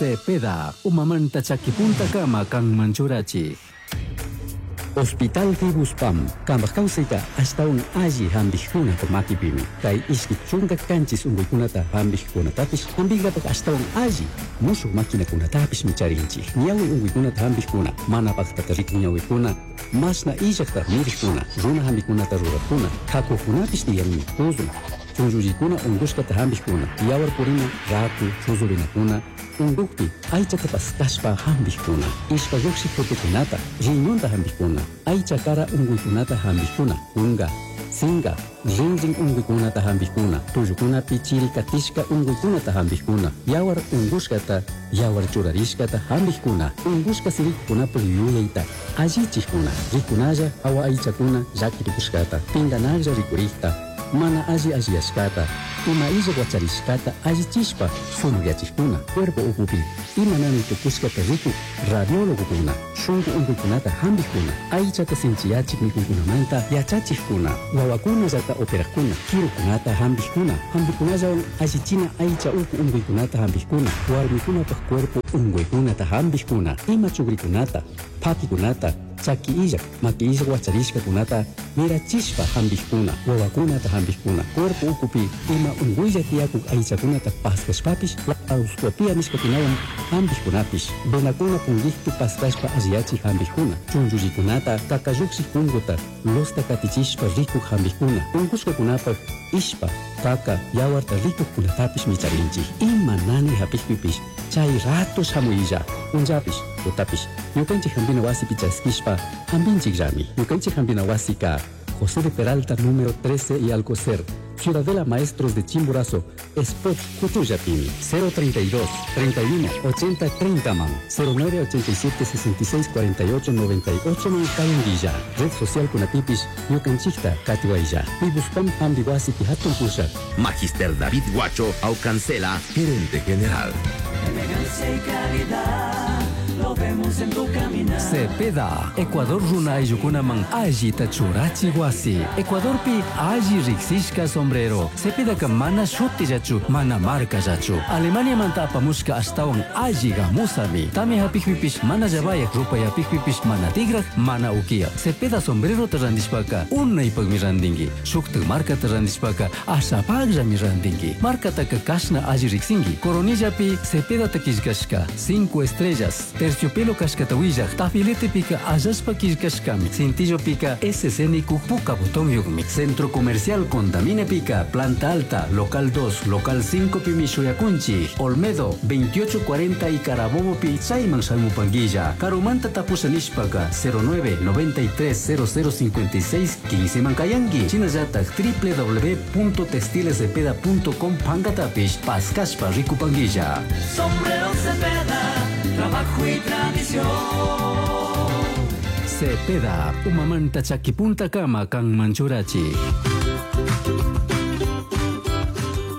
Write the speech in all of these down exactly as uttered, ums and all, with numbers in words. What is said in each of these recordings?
Cepeda, umamanta chakipuntakama kanman churachik. Hospital Fibuspam, kambaj kawsayta ashtawan alli hampikkunata makipimi. Kay ishki chunka kanchis unkuykunata hampikkunatapish hampinkapak ashtawan alli mushuk maquinakunatapishmi charinchik. Ñawi unkuykunata hampikkuna, mana paktata rikuk ñawikuna, mashna illakta mirikuna, runa hampikunata rurakkuna, kakukunapish tiyanmi, puzun, chunllullikuna unkushkata hampikkuna, yawar purina, raku, chuzurinakuna, unkukpi aychata paskashpa hampikkuna, ishpa llukshik frutukunata, riñonta hampikkuna, aycha kara unkuykunata hampikkuna, kunka, sinka, rinrin unkuykunata hampikkuna, tullukunapi chiri katishka unkuykunata hampikkuna, yawar unkushkata, yawar churarishkata hampikkuna, unkushka sirikukunapuk yuyayta allichikkuna, rikunalla hawa aychakuna llaki tukushkata, pinkanaklla rikurikta, mana alli alliyashkata, ima illak wacharishkata allichishpa sumakyachikkuna, cuerpo ukupi ima nani tukushkata rikuk radiólogokuna, shunku unkuykunata hampikkuna, aychata sinchiyachik mikuykunamanta yachachikkuna, wawakunallata operakkuna, kirukunata hampikkuna, hampikunallawan allichina aycha uku unkuykunata hampikkuna, warmikunapak cuerpo unkuykunata hampikkuna, ima chukrikunata, pakikunata, chaki illak, maki illak wacharishkakunata mirachishpa hampikkuna, wawakunata hampikkuna, cuerpo ukupi ima unkuylla tiyakuk aychakunata paskashpapish laparoscopia nishkakunawan hampikkunapish, venakuna punkikpi paskashpa alliyachik hampikkuna, chunllullikunata kakallukshik punkuta losta katichishpa rikuk hampikkuna, unkushkakunapak ishpa, kaka, yawarta rikukkunatapish micharinchik. Ima nani hapikpipish chay rato shamuylla, punllapish, tutapish, ñukanchik hampina wasipi chaskishpa hampinchikllami. Ñukanchik hampina wasika José de Peralta número trece y Alcocer, Ciudadela Maestros de Chimborazo, Spot Cutullapimi, cero treinta y dos, treinta y uno, ochenta, treinta man, cero nueve ochenta y siete, sesenta y seis, cuarenta y ocho, noventa y ocho man, Cayanguilla, Red Social Kunatipis, Ñukanchikta, Catihuaylla, Pibuspam Hambiwasi Pihatun Pusha. Magister David Guacho Aucancela, gerente general. Elegancia y calidad, lo vemos en tu caminar. Cepeda, Ecuador runa ayllukunaman allita churachi wasi. Ecuadorpi alli riksishka sombrero. Cepedaka mana shutillachu, mana markallachu. Alemania manta apamushka ashtawan alli gamusami. Tami hapikpipish mana llavayak, rupayapikpipish mana tigrak, mana ukiya. Cepeda sombrero ta randishpaka unaypakmi randinki. Shuktak markata randishpaka ashapakllami randinki. Markataka kashna alli riksinki. Coronillapi Cepeda takishkashka cinco estrellas. Terciopelo kashkata willaq, tafiletepika allashpa killkashkami, cintillopika S C nikuk puka botón yukmi. Centro Comercial Condamine Pica, Planta Alta, Local dos, Local cinco pimi shuyakunchi, Olmedo, veintiocho cuarenta y Carabobo pi chayman shamupanguilla, Karumanta tapusha nishpaka, cero nueve noventa y tres cero cero cincuenta y seis quince mankayangi, Chinallatak w w w punto textiles cepeda punto com pankatapish, paskashpa rikupanguilla. Sombrero Cepeda, trabajo y tradición. Cepeda, umamanta chakipunta kama kan manchurachi.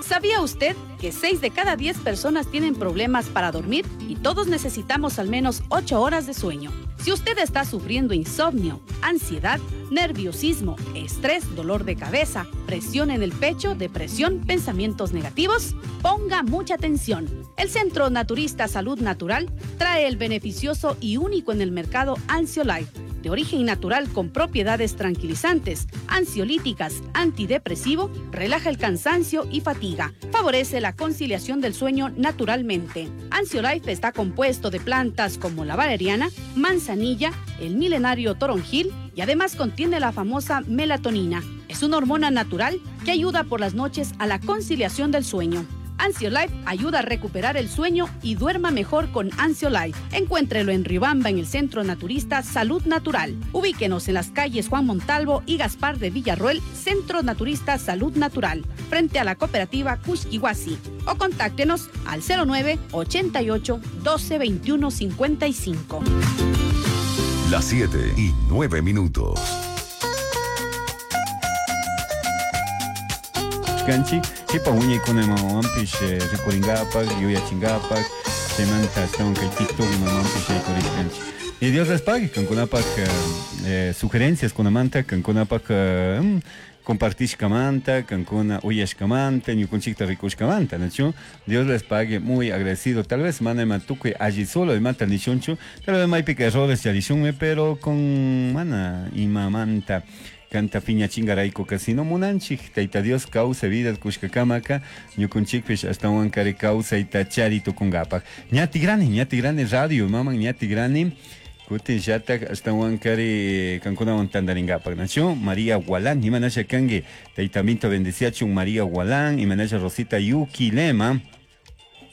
¿Sabía usted que seis de cada diez personas tienen problemas para dormir y todos necesitamos al menos ocho horas de sueño? Si usted está sufriendo insomnio, ansiedad, nerviosismo, estrés, dolor de cabeza, presión en el pecho, depresión, pensamientos negativos, ponga mucha atención. El Centro Naturista Salud Natural trae el beneficioso y único en el mercado Ansiolife, de origen natural con propiedades tranquilizantes, ansiolíticas, antidepresivo, relaja el cansancio y fatiga, favorece la conciliación del sueño naturalmente. Ansiolife está compuesto de plantas como la valeriana, manzanilla, el milenario toronjil y además contiene la famosa melatonina. Es una hormona natural que ayuda por las noches a la conciliación del sueño. Ansiolife ayuda a recuperar el sueño y duerma mejor con Ansiolife. Encuéntrelo en Riobamba, en el Centro Naturista Salud Natural. Ubíquenos en las calles Juan Montalvo y Gaspar de Villarroel, Centro Naturista Salud Natural, frente a la cooperativa Cusquihuasi. O contáctenos al cero nueve ochenta y ocho doce veintiuno cincuenta y cinco. Las siete y nueve minutos. Kanchi, kipa wiñaykuna mamawanpish, eh, rikurinkapak, yuyachinkapak, chaymanta ashtawan kay TikTok mamawanpish yaykurishkanchik. Y Dios les pague, kankunapak eh, sugerencias kunamanta, kankunapak eh, compartishkamanta, kankuna uyashkamanta, ñukunchikta rikushkamanta, nachu? Dios les pague, muy agradecido. Tal vez mana ima tukuy alli solo imata nishunchu, tal vez maypika errores charishunmi, pero con mana imamanta kanta piñachingarayku kasino munanchik Tayta Dios kawsay vida kushkakamaka ñukunchikpish ashtawankari kawsayta chari tukunkapak. Ña tigrani, ña tigrani radio, maman ña tigrani kutin llatak ashtawankari kankunawan tantarinkapak, nachu? María Gualán, imanasha kanki Tayta Minto bendeciachun María Gualán, imanasha Rosita Yuki Lema,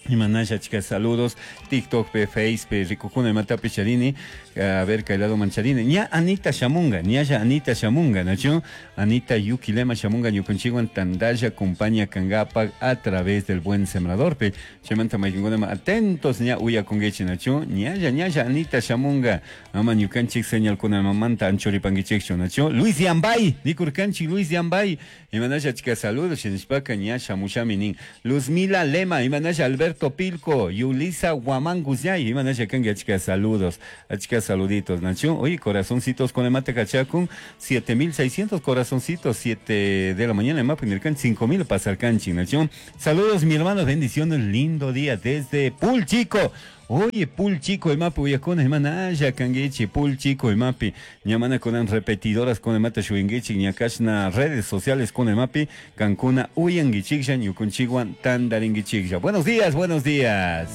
imanasha chicas saludos, TikTok pe, Face pe, rikukuna imatapi charini, a ver kay lado mancharini, ña Anita shamunga, ñalla Anita shamunga, nachu? Anita Yuki Lema shamunga ñukunchikwan tandalla acompaña kangapak a través del Buen Sembrador pe, chaymanta maykinkunama atentos ña uyakunkichik, nachu? Ñalla, ñalla Anita shamunga, ama ñukanchik señalkunamanta anchuripankichikchu, nachu? Luis Yambay, nikurkanchik Luis Yambay, imanasha chicas saludos, shinashpaka ña shamushami nin, Luzmila Lema, imanasha Alberto Pilco, Yulisa Guamangusñay, imanasha kanki achka saludos, achka saluditos, nachu? Oye, corazoncitos con el mate cachacun, siete mil seiscientos corazoncitos, siete de la mañana, mapa en cinco mil pasar canchi, nachu? Saludos, mi hermano, bendiciones, lindo día desde Pul Chico. Oye, Pul Chico, el mapi, uyakuna, hermana, kanguichi, Pul Chico, el mapi, ñamana con repetidoras con el mate shuinguichi, ñakashna redes sociales con el mapi, cancuna, uyanguichikya, ñukunchiguan, tandaringuichikya. Buenos días, buenos días.